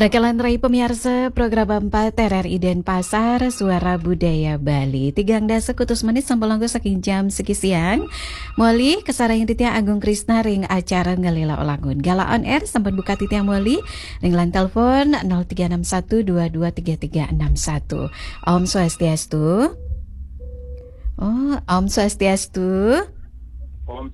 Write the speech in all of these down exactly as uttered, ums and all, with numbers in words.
Rakalan rai pamiarsa program empat R R I Denpasar, Suara Budaya Bali. Tigang dasa kutus menit sampun longgo saking jam siki siang. Moli kasarengin titiang Agung Krisna ring acara Ngelela Olangun. Gala on air sampun buka titiang moli ring line telepon nol tiga enam satu dua dua tiga tiga enam satu. Om Swastiastu. Oh, Om Swastiastu. Om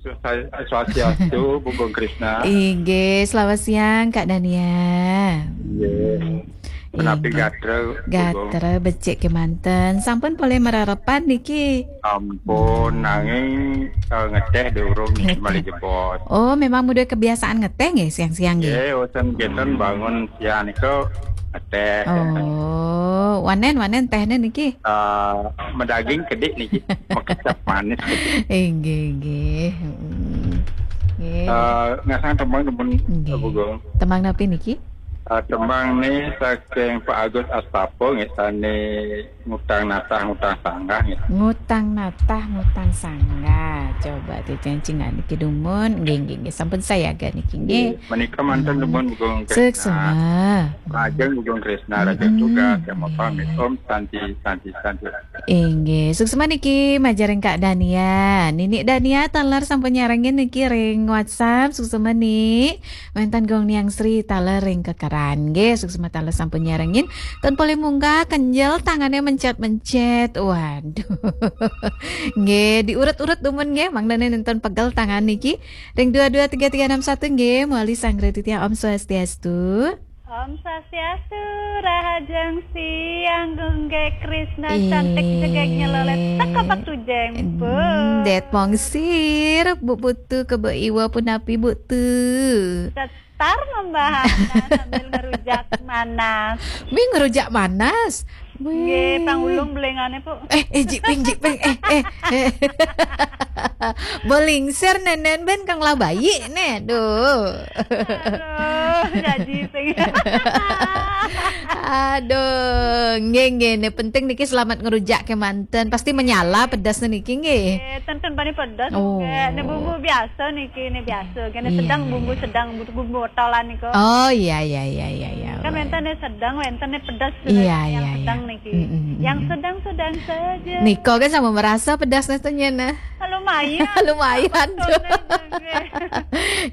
Swastiastu, Bu Gung Krisna. Inggih, selamat siang, Kak Dania. Inggih. Hmm. Menapi Inggih. Gatra, Bu Gung. Gatra becik kemanten. Sampun polih marerepan niki? Ampun, nanging, eh, ngeteh durung niki malih jebos. Oh, memang udah kebiasaan ngeteh nggih siang-siang nggih? Nggih, usan kenten bangun siang nika ngeteh. Oh, wanen, wanen tehne niki? Eh, medaging kedik niki, makecap manis kedik. Inggih, inggih. Mm. Nggih. Eh, ngasang tembang dumun, Nggih. Bu Gung. Tembang napi niki? Eh, tembang ni saking Pak Agus Astapa nggih, sane Ngutang Natah Ngutang Sanggah nggih. Ngutang Natah Ngutang Sanggah. Coba titiang cingak niki dumun. Nggih, nggih, nggih. Sampun sayaga niki nggih. Nggih, menika manten Hmm. dumun Bu Gung Krisna. Suksma. Lajeng Bu Gung Krisna, lajeng Mm-mm. tugas, yang Nggih. pamit. Om Santi, Santi, Santi. Inggih, suksma niki majeng ring Kak Dania. Nini Dania taler sampun nyarengin niki ring WhatsApp, suksma Ni. Wenten Gung Niang Sri taler ring Kekeran. Nggih, suksma taler sampun nyarengin. Ten polih munggah kenjel tangane mencet-mencet. Waduh. Nggih, diurut-urut dumun nggih, mangdane nenten pegel tangan niki. Ring dua dua tiga tiga enam satu nggih, moli sanggra titiang Om Swastiastu. Om Swastiastu, rahajeng siang, Gung Krisna, Ih. cantik jegeg nyelolet, teka batu jempol. Hmm, det mongsir, Bu Putu kebo iwa punapi Bu Tu. Setar membahana sambil ngerujak manas. Mi ngerujak manas. Nggih, Wih. pangulung belengane, Bu. Eh, eh, jiping, jiping, eh, eh, eh. Bolingsir nenen ben kang labai ne, duh. Aduh, jaji sing. Aduh, nggih, nggih, ne penting niki selamat ngerujak kemanten. Pasti menyala pedas niki nggih. Eh, ten, ten bani pedas Oh. nggih. Ne bumbu biasa niki, ne biasa. Kene Iya, sedang iya, bumbu iya. sedang, bumbu, bumbu botolan niku. Oh, iya, iya, iya, iya, iya. Kan Baik. wenten ne sedang, wenten ne pedas. Iya, Yang iya, iya. sedang niki. Mm, mm, mm, Yang mm. sedang-sedang saja. Niko kan sama merasa pedasnya tuh nyena. Lumayan. Lumayan, Betul, tuh. nggih.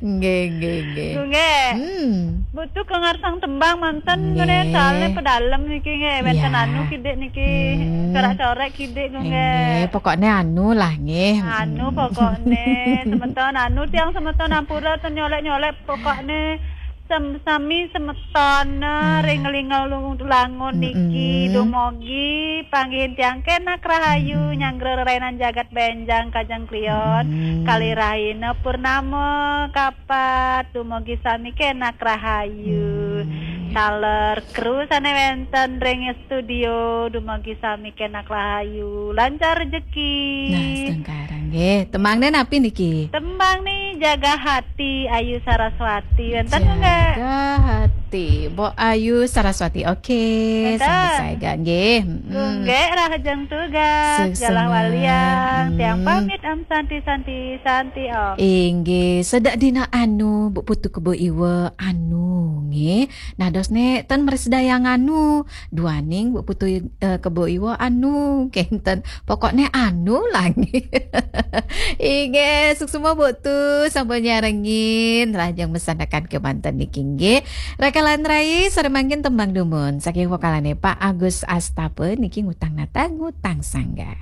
Nggih, nggih, nggih. Nggih. Hmm. Butuh ke ngarsang tembang manten Nggih. ngene, soalnya pedalem niki nggih, wenten Iya. anu kidik niki. Hmm. Corak-corak kidik nggih. Nggih, pokoknya anu lah nggih. Anu Mm. pokoknya semeton anu tiang semeton ampura ten nyolek-nyolek pokoknya sem-, sami semeton, eh, Hmm. ring ngelinga ulung langun niki Mm-mm. dumogi panggihin tiang kenak rahayu Mm-mm. nyanggra rerainan jagat benjang kajeng klion Mm-mm. kali rahina purnama kapat dumogi sami kenak rahayu. Hmm. Taler kru sane wenten ring studio dumogi sami kenak rahayu, lancar rejeki. Nah, sedengkara nggih. Tembangne napi niki? Tembang ni Jaga Hati Ayu Saraswati. Wenten nggih? Jaga Hati, Mbok Ayu Saraswati. Oke, Wenten. sambil saya nggih. Mm-mm. Nggih, rahajeng tugas. Suksma. Jalah waliang. Tiang Mm. pamit, Om Santi, Santi, Santi, Om. Inggih, sedak dina anu, Bu Putu kebo iwa anu, nggih. Nah, dos ne ten mresidayang anu, duaning Bu Putu, eh, kebo iwa anu, kenten. Pokokne anu lah, nggih. Inggih, suksma Bu Tu, sampun nyarengin, rahajeng masandekan kemanten niki, nggih. Rakalan rai, sare mangkin tembang dumun, saking vokalane Pak Agus Astapa niki Ngutang Natah Ngutang Sanggah.